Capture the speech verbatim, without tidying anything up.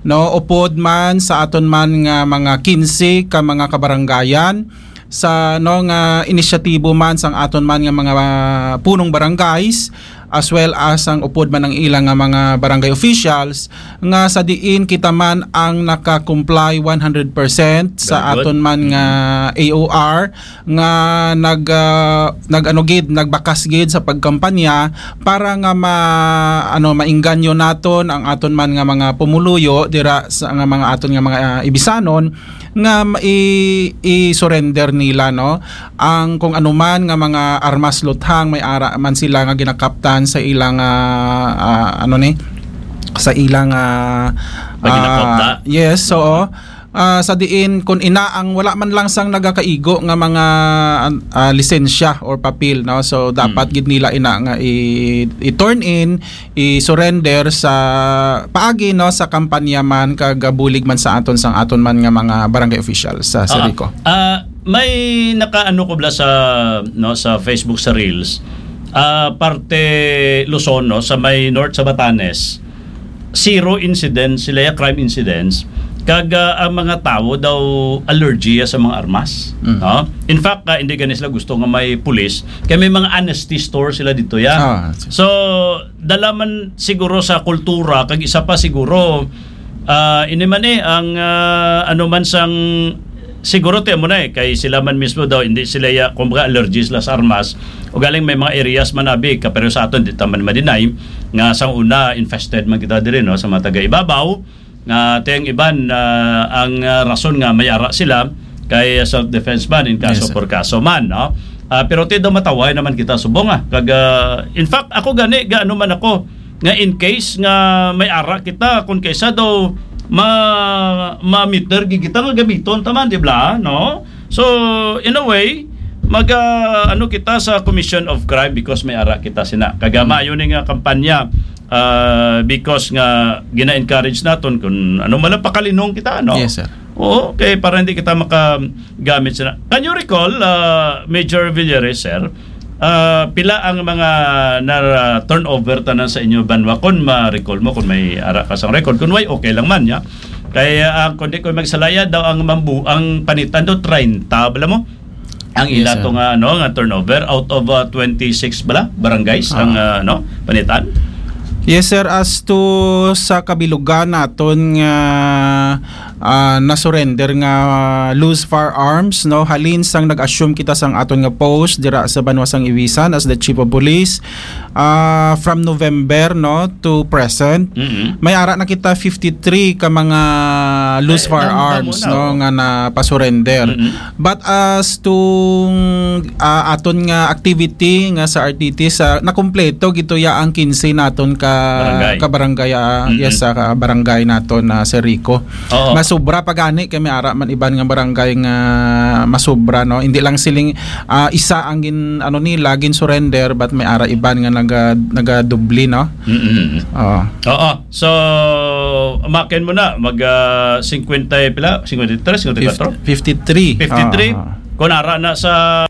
no, upod man sa aton man nga mga kinse ka mga kabarangayan, sa, no, nga inisyatibo man sang aton man nga mga punong barangays, as well as ang upod man ang ilang nga mga barangay officials, nga sa diin kita man ang naka-comply one hundred percent sa Very good. aton man nga A O R, nga nag, ah, nag-, ano gid, nagbakas gid sa pagkampanya para nga ma-, ano, maingganyo naton ang aton man nga mga pumuluyo dira sa nga mga aton nga mga, ah, Ibisanon nga ma-, i-, i-surrender nila, no, ang kung anuman nga mga armas luthang may ara man sila nga ginakaptan sa ilang, ah, ah, ano ni, sa ilang, ah, May ginakapta? ah, yes, oo. Ah, sa diin, kung ina ang wala man lang sang nagakaigo nga mga, ah, lisensya or papel, no? So, dapat Mm. gid nila ina nga i-, i-turn in, i-surrender sa paagi, no, sa kampanya man kag bulig man sa aton sang aton man nga mga barangay officials sa Ah, Sarico. ah, may nakaano ko bala sa, no, sa Facebook sa Reels. Ah, parte Luzon, no, sa may North sa Batanes, zero incidents sila ya, crime incidents. Kag, ah, ang mga tawo daw allergy ya sa mga armas, Mm. no? In fact, ah, hindi gani sila gusto nga may pulis, kay may mga honesty store sila dito ya. Ah, I see. So, dala man siguro sa kultura, kag isa pa siguro, ah, ini man eh, ang, ah, ano man sang, siguro ti mo na eh, kay sila man mismo daw, hindi sila ya, kumbaga, allergy sila sa armas. O galing may mga areas man abi, kapareho sa aton, di ta man ma-deny, nga sang una, infested man kita diri, no, sa mga taga-ibabaw, nga ti ang iban, ah, ang, ah, rason nga may ara sila, kay self-defense man, in kaso Yes, sir. por kaso man, no? Ah, pero ti daw mataway naman kita subong, ah. Kag, ah, in fact, ako gani, gaano man ako, nga in case nga may ara kita, kung kaysa daw ma-, ma-meter gid kita nga gamiton ta man, di ba? No? So, in a way, mag, ah, ano kita sa commission of crime because may ara kita sina. Kag, ah, Mm. maayo ni nga kampanya, ah, because nga gina-encourage naton kung ano man lang pakalinong kita, no? Yes, sir. Oo, okay, para hindi kita makagamit sina. Can you recall, ah, Major Villares, sir, ah, pila ang mga na, ah, turnover tanan sa inyo banwa? Kung ma-recall mo, kung may ara ka sang record, kung way, okay lang man, ya. Kay, ah, ang, kung di ko magsalaya daw ang mambu-, ang Panitan daw, treinta, bala mo? Ang Yes, ila sir. to nga, ano, nga turnover out of, ah, twenty-six bala, barangays, Ah. ang, ah, ano, Panitan? Yes, sir. As to sa kabilugan naton nga, ah, na-surrender nga, ah, loose firearms, no, halin sang nag-assume kita sang aton nga post dira sa banwa sang Ivisan as the chief of police, ah, from November, no, to present, Mm-mm. may ara na kita fifty-three ka mga loose Ay, firearms, damo-damo na, no, oh. nga napasurrender. Mm-mm. But as to, ah, aton nga activity nga sa R T T, sa, nakumpleto gito ya ang kinse naton ka, Barangay. ka barangay, ah, Mm-mm. yes, sa ka barangay naton na Sir Rico. Oo. Masubra pa gani kay may ara man iban nga barangay nga masubra, no? Hindi lang siling, ah, isa ang gin-, ano nila, gin-surrender, but may ara iban nga naga-, nagadubli, no? Mm-mm. Oo. Oo. So, makin mo na, mag, ah, singkwenta, pila? Singkwenta y tres, singkwenta y kuwatro? Fif-, fifty-three. Fifty-three? Ah. Kung ara na sa